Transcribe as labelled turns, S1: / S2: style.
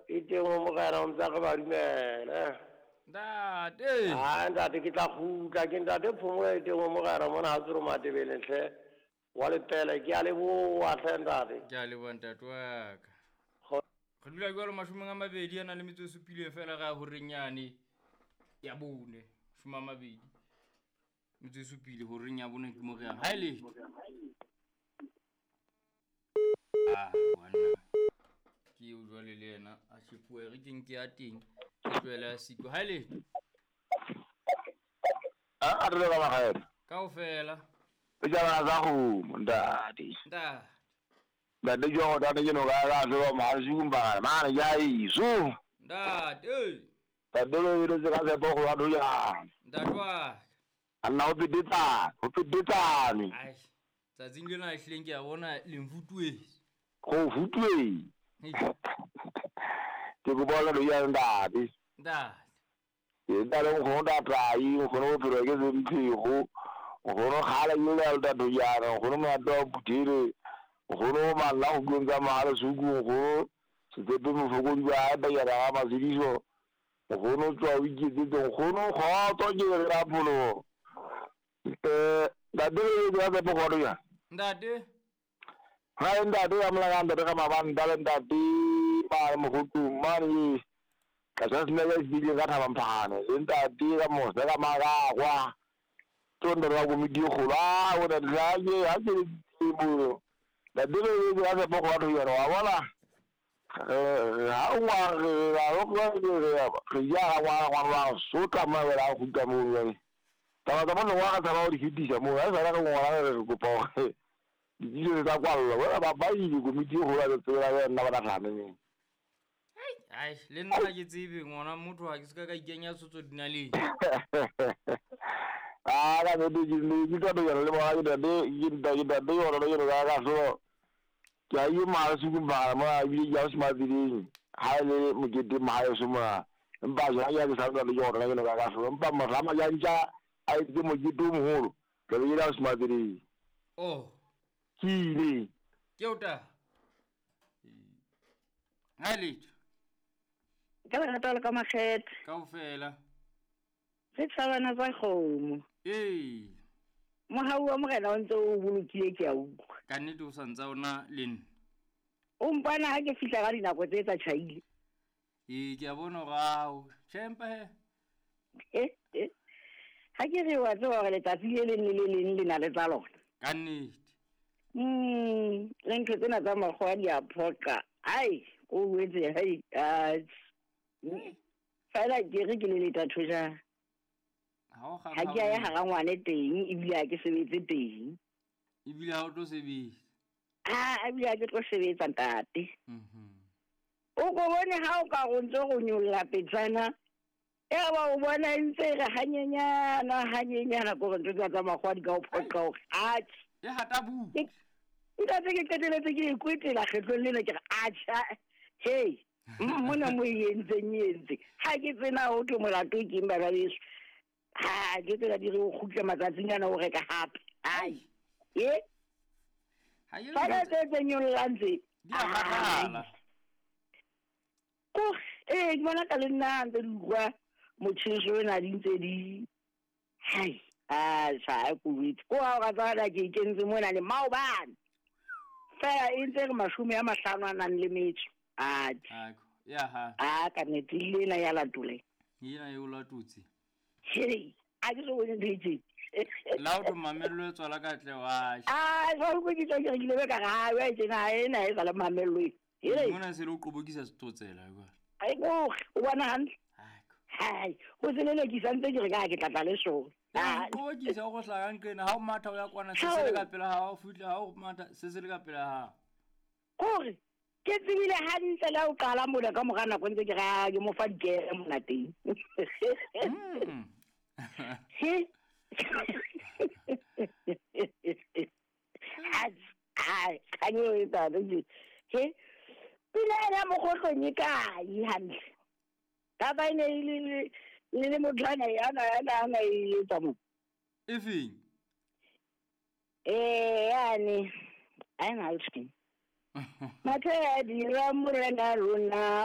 S1: E teng o morena o ntse a re ba dumele.
S2: Ntate.
S1: A ntate ke tla kgutla ke ntate Phomolo e teng o morena mona ha tsoro Matebeleng hle. Wa lepele ke a leboha hle ntate.
S2: Ke a leboha ntate wa ka. Re dula jwalo 27 fela ga horeng yane ya 4. 27 horeng ya 4 ke mo re yang. Ha ile. Ah, ngwana. Ke o jwale le yena a shepuwe re ke nke ya teng. Ke tlohele a siko. Ha ile.
S3: A re ba magae.
S2: Kaofela.
S3: O jala za go ntate.
S2: Ntate.
S3: Ntate jo go tate ke no ga ga so ma zumba ma ya iso.
S2: Ntate.
S3: Ntate lo ile tsa se bo go wa ya.
S2: Ntate wa.
S3: Anna o pidita, o pidita ni.
S2: Ai. Tsatsing lena ehlileng ke a bona le mfutuwe.
S3: Go futuwe. Ke go bona lo ya ntate.
S2: Ntate.
S3: Ke ntate go ntate ai go no phelo ke se mphigo. Go no gala ile la do ya go no ma do butire. Go no ma la go gontsa ma le suku go se tsepe mofoko di ba ba ya ra ma sediso. Go no tswa o iketse go no go to ke ra pholo. Ntate le ya go go ya.
S2: Ntate.
S3: Ha ntate ya mla ntate ka mabanta le ntate ba mo go tuma ni. Ka sa sne ya dile ka thaba mphane. Ntate ka mo se ka magagwa. Tsondo ra go midi go la o da la ye ha ke mo. Ntate le ya go go ya wa bona. Ha o wa re ra go re ya wa wa wa so ka ma ra go ka mo le. Taba tsa bona wa ka tshaba o di fetisa mo ha sa ra go ngwana re kopa hore ditiro tsa kwallo bona ba ba ile komiti go la tsela ya nna ba nagane ne.
S2: Ai le nna ke tsebe ngwana motho ha ke se ka ikenya tsotso dinaleng.
S3: Ah ga ne di ne di ka do ya le ba ke da de ke da ke da de yona le ga ga so ke a yi ma su ba ma bi ya su ma di ha le mo ke di ma yo su ma mpa ja ya ke sa le yona le ga ga so mpa ma rama ya ntja a itse mo ke do moholo ke le ya su ma di
S2: oh
S3: ke ile
S2: ke ota ha le
S4: ka la rata le ka makgethe
S2: kaofela
S4: re tshabana tsa kgomo
S2: ee
S4: mohau wa morena o ntse o bolokile ke a utlwa
S2: ka nnete o sa ntsa ona le nna
S4: o mpana ha ke fihla ka dinako tse tsa tjhaile
S2: ee ke a bona rao tjhempa
S4: he ha ke re wa tseba hore letsatsi le leng le le leng le na le tsa lona
S2: ka nnete
S4: le ntho tsena tsa makgowa di a phoqa ai o wetse hai fela ke re ke le letatho ja
S2: ha
S4: ke ya hara ngwane teng ebile ha ke sebetse teng
S2: ebile ha o tlo sebetsa
S4: ah ebile ha ke tlo sebetsa ntate o go bone ha o ka go ntse go nyolla petsana e ba o bona ntse re hanyenyana hanyenyana go ntse tsa makgwa di ka o phoqa hore atjhe
S2: e hata bu
S4: ntate ke qeteletse ke ikwetela kgetlong lena ke re atjha hey mona mo entseng ha ke tsena ho thwe molato ke eng bana beso ha ke tsela di re o kgutla matsatsing ana o reka hape ai e
S2: ha ye
S4: fela tse nyollang tse
S2: di a makala
S4: ko ke bona ka le nna ntse di utlwa motjheso ena di ntse di hai a sa ko wit ko ha o ka ke ikentse mona le maobane fela e ntse re 50 a nang le metso
S2: a ya ha
S4: a ka nnete lena ya latole
S2: yena e o latotse
S4: hey a ke so bone ntho
S2: la o mamello e tswala ka tle wa
S4: a jwale ko ke tlo ke ile ka ga wa tsena ena e tsala mamello e
S2: mona se le o qobokisa setotsela jwale
S4: ai go o bona hantle hai ho se le ke santse ke re ka ke tlatla le sona
S2: a qobokisa go hlaka nqena ha o matha o ya kwana se se le ka pela ha o fihla ha o matha se se le ka pela ha
S4: kore ke tsebile hantle la o qala mona ka mora nako ntse ke ra ke mo fa dikere mona teng he ai kanyo e tsa he pila ya mogotlong e kae hantle ka ba ene le le motlana ya na e tsa mo
S2: e feng
S4: yani ai na utshin Mathe di ra morena rona